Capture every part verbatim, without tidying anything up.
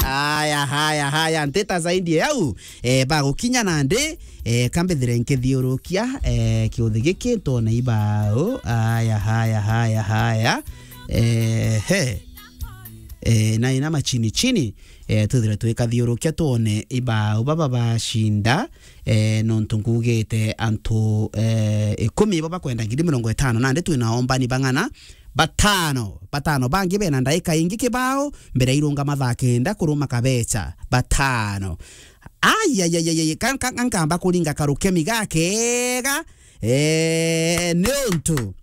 Haya, haya, haya, ntita zaidi ya au, eh, bagukinya nandi, eh, kambithire nkithiurukia, eh, kiuthi giki ntone ibau. Haya, haya, haya, haya. Eh, he. Eh, na ina machini chini, eh, twithire twikathiurukia twone ibau baba bacinda, eh, nontu ngugite antu, eh, ikumi ibo bakwenda ngiri mirongo itano, nandi twina ombani bang'ana, batano, batano bangi bena ndaika ingi kibao, mbere irunga mathaa kenda kuruma kabecha, batano. Ai, ai, ai, ai, ai, ka, ka, ka, nkamba kuringa karukemi gakega, eh, niuntu.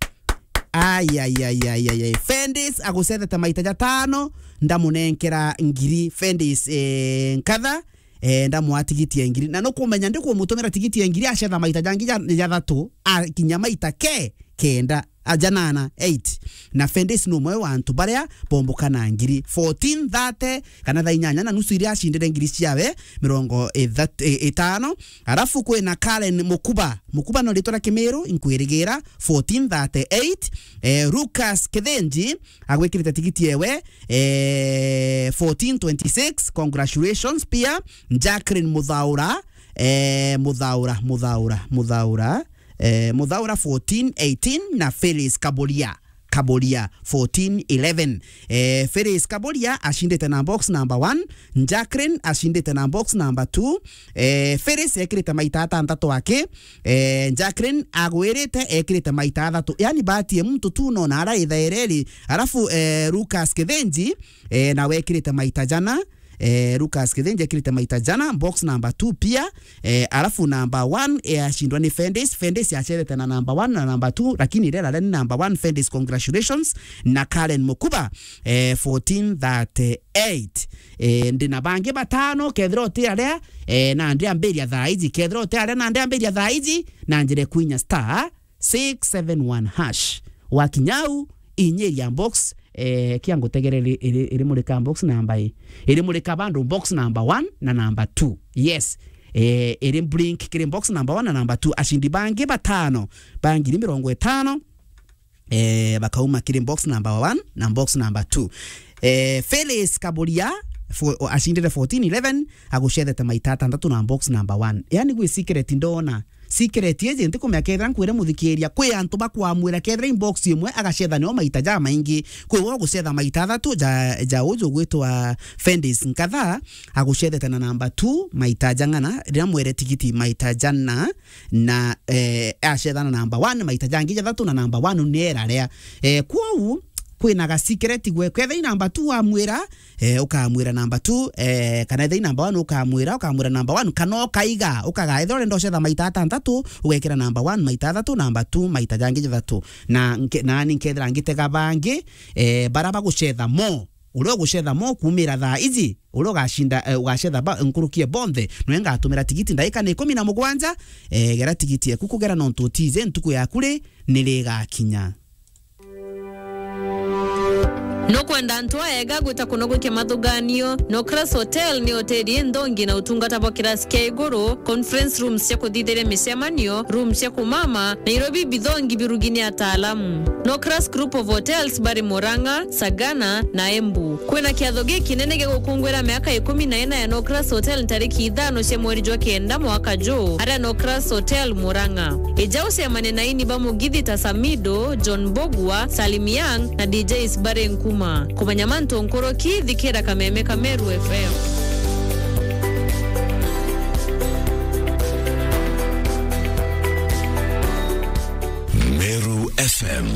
Ai, ai, ai, ai, ai, ai. Fendis agucethete maita jatano, ndamunenkera ngiri. Fendis, eh, nkatha, eh, ndamwa tigiti ya ngiri. Na nukumenya ndikumutumira tigiti ya ngiri, acetha maita jangi ja, jathatu, akinya maita ke, kenda, a, janana, eight. Na Fendis ni umwe wa antu baria bombukana ngiri. Fourteen thirty, kana thaa inyanya na nusu iria acindire ngiri ciawe mirongo ithatu, i-, itano. Arafu kwina Karen Mukuba. Mukuba no ritwa ria Kimiru, inkwirigira, fourteen thirty-eight. Eh, Lucas Kithinji, agwikirite tigiti ewe, eh, fourteen twenty-six. Congratulations pia. Jacqueline Muthaura, eh, Muthaura, Muthaura, Muthaura, eh, Muthaura fourteen eighteen na Phyllis Kaburia. Kaburia fourteen eleven. Eh, Phyllis Kaburia acindite na box number one, Jacqueline acindite na box number two. Eh, Phyllis ekirite maita atantatu aki, eh, Jacqueline agwirite ekirite maita athatu. Yani bahati ya mtu tu nona ara ithaireri. Alafu, eh, Lucas Kithinji, eh, nawe ekirite maita jana. Eh, Lucas Kithinji ekirite maita jana, box number two pia. Eh, alafu number one, eh, acindwa ni Fendis. Fendis acethete na number one na number two, lakini rera ni number one, Fendis, congratulations. Na Karen Mukuba, eh, fourteen thirty-eight. Eh, ndina bangi batano, kethira uti aria, eh, na ndiambiria thaa iji. Kethira uti aria na ndiambiria thaa iji, na njire kwinya star six seven one hash. Wakinya au, inyiria box, eh, kia ngutegere iri, iri, iri murika box number i. Iri murika bandu box number one na number two. Yes. Eh, iri blink kiri box number one na number two. Acindi bangi batano, ba ngiri mirongo itano, eh, bakauma kiri box number one na box number two. Eh, Phyllis Kaburia, fo-, o-, acindire fourteen eleven, agucethete maita atantatu na box number one. Yani gwi secret ndona. Secret iji ntikumenya kethira nkwire muthikiria, kwi antu bakwamwira kethira inbox imwe agacetha nio maita jamaingi. Kwi we ugucetha maita athatu ja, ja uju ugwitwa Fendis Nkatha, agucethete na number two maita jang'ana, riria mwere tigiti maita jana, na, eh, acetha na number one maita jangi jathatu, na number one ni era ria. Eh, kwou, kwina ga secret gwe, kethira i number two amwira, eh, ukamwira number two, eh, kana ethira i number one ukamwira, ukamwira number one, kana ukaiga, ukaga, ethira urenda ucetha maita atantatu, ugekira number one maita athatu, number two maita jangi jathatu. Na nke-, nani nkethira ngitega bangi, eh, bara bagucetha mo. Uria ugucetha mo kumira thaa iji, uria ugacinda, eh, ugacetha ba-, nkuruki e bonthe, nwe ngatumira tigiti ndaika ni ikumi na mugwanja, eh, gera tigiti eku kugera nontu utije ntuku yaku ri, ni ri igakinya. Nukwenda antu aega gwita kuno gwikia mathuganio? Nocras Hotel ni hoteli inthongi na utungata bwa kirasi kia iguru, conference rooms cia kuthithiria micemanio, rooms cia kumama, Nairobi bithongi birugi ni ataalamu. Nocras Group of Hotels bari Murang'a, Sagana na Embu. Kwina kiatho gikinene gia gukungwira miaka ikumi na ina ya Nocras Hotel ntariki ithano cia mweri jwa kenda mwaka juu, aria Nocras Hotel Murang'a. Ija ucemane na aini ba mugithi ta Samido, John Mbugua, Salim Young na D Js bari Nkuma. Kumenya mantu nkuruki, thikira Kameme ka Meru F M. Meru F M,